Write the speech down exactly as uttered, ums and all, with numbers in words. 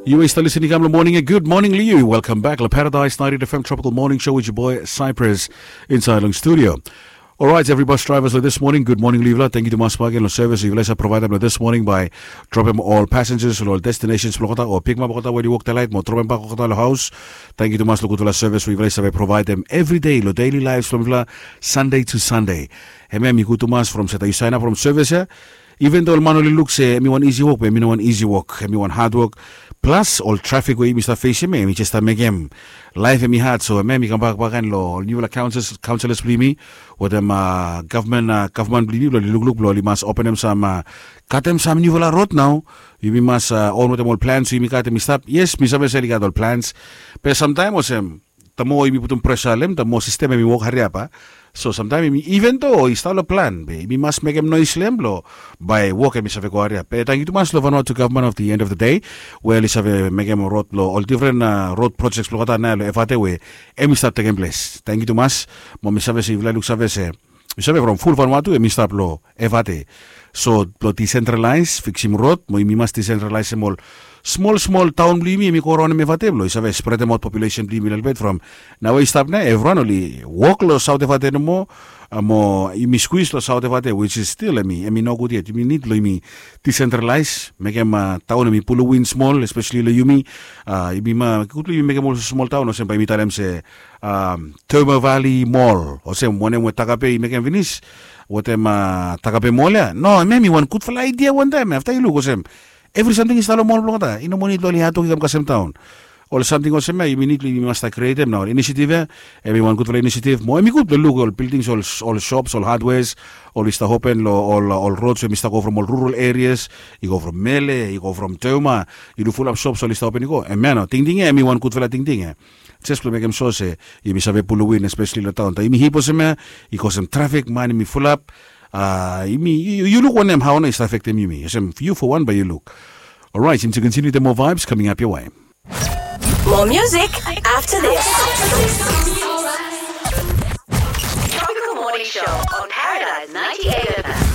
Yu we stap lisin i kam long moning ya. Good morning long yu. Welcome back long Paradise ninety F M Tropical Morning Show with your boy Cypress inside long studio. Alright, every bus drivers long this morning, good morning long yufala. Thank you tumas bakegen long service yufala i save providem long this morning by dropem ol passengers long ol destinations blong olgeta o pikimap olgeta we oli wok delaet mo dropem bak olgeta long haus. Thank you tumas long gudfala service we yufala i save providem every day long daily lives blong yufala, Sunday to Sunday. Hemia mi gud tumas from se taem yu saenap from service ya. Even though ol man oli luk se em i wan isi wok, be em i no wan isi wok, em i wan hadwok. Plus ol trafik we yumi stap fesim ya, em i jes stap mekem laef em i had. So em ya mi kambak bakegen long ol niufala kaunselas blong yumi wetem gavman, gavman blong yumi blong oli lukluk blong oli mas openem sam, katem sam niufala rod nao. Yumi mas on wetem ol plans we yumi gat em i stap. Yes, mi save se oli gat ol plans, be samtaem olsem, the more yumi putum pressure long em, the more system em i wok hariap a. So samtaem yumi, even though i stap long plan, be yumi mas mekem noes long em blong bae wok em i save go hariap. Be tangkiu tumas long Vanuatu gavman of the end of the day we oli save mekem rod blong ol different rod projects blong olgeta nao long Evate we em i stap tekem ples. Tangkiu tumas. Mo mi save se yufala i luksave se, yu save from ful Vanuatu em i stap long Evate. So blong decentralize, fiksim rod mo yumi mas decentralize em ol smol smol taon blong yumi em i go raonem Evate blong i save spredemaot populesen blong yumi lelebet from nao we i stap nao evriwan oli wok long Saot Evate nomo. Mo yumi skwis long Saot Evate, which is still em i, em i nogud yet. Yumi nid blong yumi decentralize, mekem taon em i pulowin smol, espeseli long yumi. Yumi ma gud blong yumi mekem ol smol taon olsem bae yumi talem se Toma Valley Mall olsem wanem we Takape i mekem finis wetem Takape Mall ya. No, em ya i wan gudfala aidia wantaem. Afta yu luk olsem evri samting i stap long mall blong olgeta, i no moa nid blong oli hadwok i kam kasem taon. Ol samting olsem ya yumi nid blong yumi mas stap krietem nao. Ol inisiativ ya em i wan gudfala inisiativ mo em i gud blong luk ol bildings, ol sops, ol hadweas, oli stap open long ol rods we em i stap go from ol rural erias, i go from Mele, i go from Toma. Yu luk fulap sops oli stap open i go. Em ya nao tingting ya em i wan gudfala tingting ya. Jes blong mekem sua se yumi save pulowin espeseli long taon. Taem yumi hip olsem ya, i kosem trafik, man yumi fulap. Yumi, yu luk wanem hao nao i stap afektem yumi olsem, yu fo wan bae yu luk. Orait, yumi tu kontiniu wetem moa vibes kaming ap ya. More music after this.